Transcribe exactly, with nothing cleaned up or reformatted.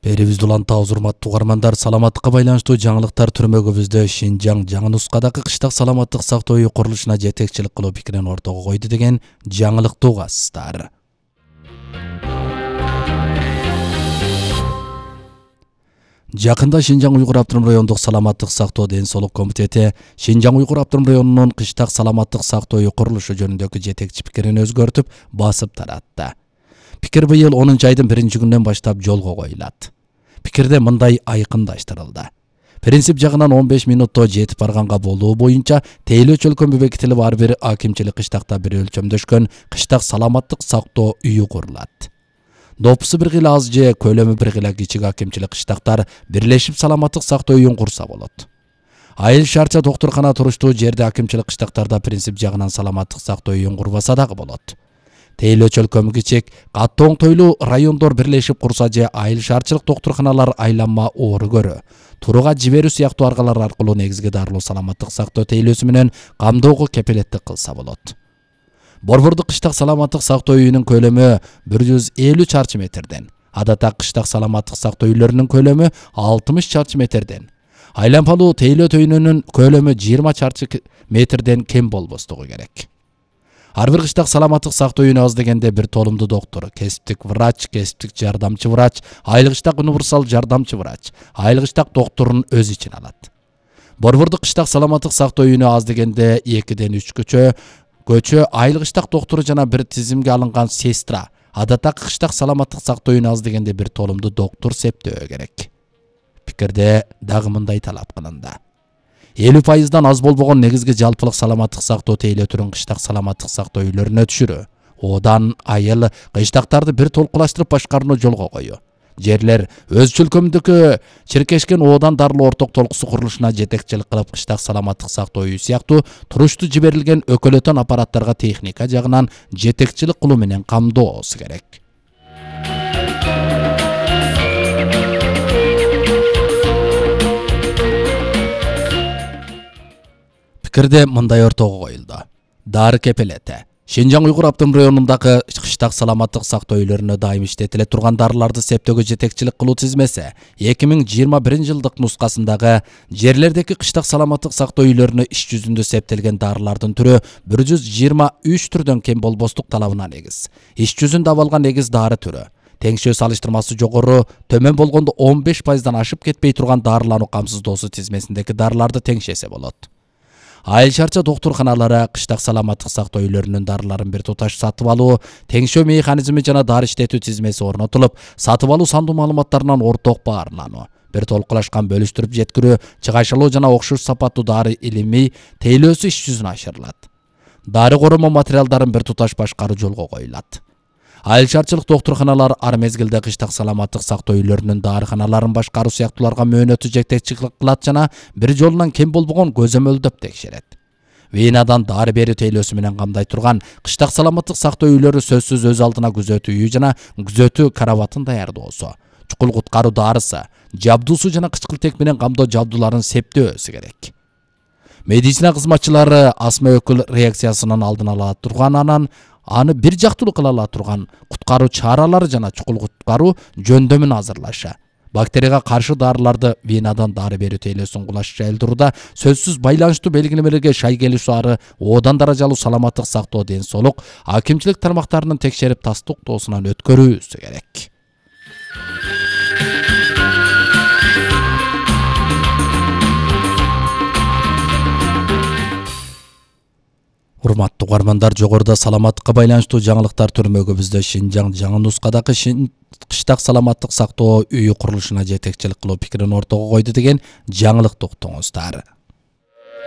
Берибизди улантабыз, урматтуу угармандар. Саламаттыкка байланыштуу жаңылыктар түрмөгүбүздө Шинжаң жаңы нускадагы кыштак саламаттык сактоо үй курулушуна жетекчилик кылуу пикирин ортого койду деген жаңылыкты угасыздар. Жакында Шинжаң Уйгур Автоном райондук саламаттык сактоо ден соолук комитети Шинжаң Уйгур Автоном районунун кыштак саламаттык сактоо үй курулушу жөнүндөгү жетекчи пикирин өзгөртүп, басып таратты. Пикир быйыл онунчу айдын биринчи күнүнөн баштап жолго коюлат. Пикирде мындай айкындаштырылды. Принцип жагынан он беш минутто жетип барганга болуу боюнча тейлөө чөлкөмү бекитилип ар бир акимчилик кыштакта бир өлчөмдөшкөн кыштак саламаттык сактоо үйү курулат. Допусу бир гыла аз же көлөмү бир гыла кичик акимчилик кыштактар бирлешип саламаттык сактоо үйүн курса болот. Айыл шаарча доктуркана туруштуу жерде акимчилик кыштактарда принцип жагынан саламаттык сактоо үйүн курбаса дагы болот. Тейлөө чөлкөмү кичик, катты оңтойлуу райондор бирлешип курса же айыл шаарчылык доктурканалар айланма оору көрө, турууга жиберүү сыяктуу аргалар аркылуу негизги дарылуу саламаттык сактоо тейлөөсү менен камдоого кепилеттик кылса болот. Борбордук кыштак саламаттык сактоо үйүнүн көлөмү бир жүз элүү чарчы метрден, адатта кыштак саламаттык сактоо үйлөрүнүн көлөмү алтымыш чарчы метрден, айланпалуу тейлөө түйүнүнүн көлөмү жыйырма чарчы метрден кем болбостугу керек. Ар бир кыштак саламаттык сактоо үйүнө аз дегенде бир толумдуу доктор, кесиптик врач, кесиптик жардамчы врач, айылгычтак универсал жардамчы врач, айылгычтак докторун өз ичине алат. Борбордук кыштак саламаттык сактоо үйүнө аз дегенде экиден үч көчө, көчө айылгычтак доктору жана бир тизимге алынган сестра, адатта кыштак саламаттык сактоо үйүнө аз дегенде бир толумдуу доктор септөө керек. Пикирде дагы мындай талап кылынды. элүү пайыздан аз болбогон негизги жалпылык саламаттык сактоо тейлөө түрүн кыштак саламаттык сактоо үйлөрүнө түшүрүү, одан айыл кыштактарды бир толкулаштырып башкарууну жолго коюу, жерлер өз чөлкөмүндөгү чиркешкен одан дарылуу орток толкусу курулушуна жетекчилик кылып кыштак саламаттык сактоо үйү сыяктуу туруштуу жиберилген өкөлөтөн аппараттарга техника жагынан жетекчилик кылуу менен камдоосу керек. Пикирде мындай ортого коюлду. Дары кепелети. Шинжаң Уйгур Автоном районундагы кыштак саламаттык сактоо үйлөрүнө дайым иштетиле турган дарыларды септөөгө жетекчилик кылуу тизмеси эки миң жыйырма биринчи жылдык нускасындагы жерлердеги кыштак саламаттык сактоо үйлөрүнө иш жүзүндө септелген дарылардын түрү бир жүз жыйырма үч түрдөн кем болбостук талабына негиз. Иш жүзүндө абалган негиз дары түрү. Теңшөө салыштырмасы жогору, төмөн болгондо он беш пайыздан ашып кетпей турган дарылануу камсыздоосу тизмесиндеги дарыларды теңшесе болот. Айыл шаарча доктурканалары кыштак саламаттык сактоо үйлөрүнүн дарыларын бир туташ сатып алуу, теңшөө механизми жана дары иштетүү тизмеси орнотулуп, сатып алуу сандуу маалыматтарынан орток баарлануу, бир толкулашкан бөлүштүрүп жеткирүү, чыгашылуу жана окшош сапаттуу дары илимий тейлөөсү иш жүзүнө ашырылат. Дары короо материалдарын бир туташ башкаруу жолго коюлат. Айыл шаарчылык доктурканалар ар мезгилде кыштак саламаттык сактоо үйлөрүнүн дарыканаларын башкаруу сыяктууларга мөөнөтү жетекчилик кылат жана бир жолунан кем болбогон көзөмөлдөп текшерет. Венадан дары берүү тейлөөсү менен камдай турган кыштак саламаттык сактоо үйлөрү сөзсүз өз алдына күзөтүү үйү жана күзөтүү карабатын даярдоосу, чукул куткаруу дарысы, жабдуусу жана кычкылтек менен камдоо жабдууларын септөөсү керек. Медицина кызматчылары астма өкүл реакциясынын алдын ала турган анан аны бир жактылуу кыла ала турган куткаруу чаралары жана чукул куткаруу жөндөмүн азырлашы, бактерияга каршы дарыларды венадан дары берүү тейлөөсүн кулаш жайылдырууда сөзсүз байланыштуу белгилемелерге шай келишүү ары одан даражалуу саламаттык сактоо ден соолук акимчилик тармактарынын текшерип тастыктоосунан өткөрүүсү керек. Урматтуу угармандар, жогоруда саламаттыкка байланыштуу жаңылыктар түрмөгүбүздө Шинжаң жаңы нускадагы кыштак саламаттык сактоо үйү курулушуна жетекчилик кылуу пикирин ортого койду деген жаңылыкты уктуңуздар.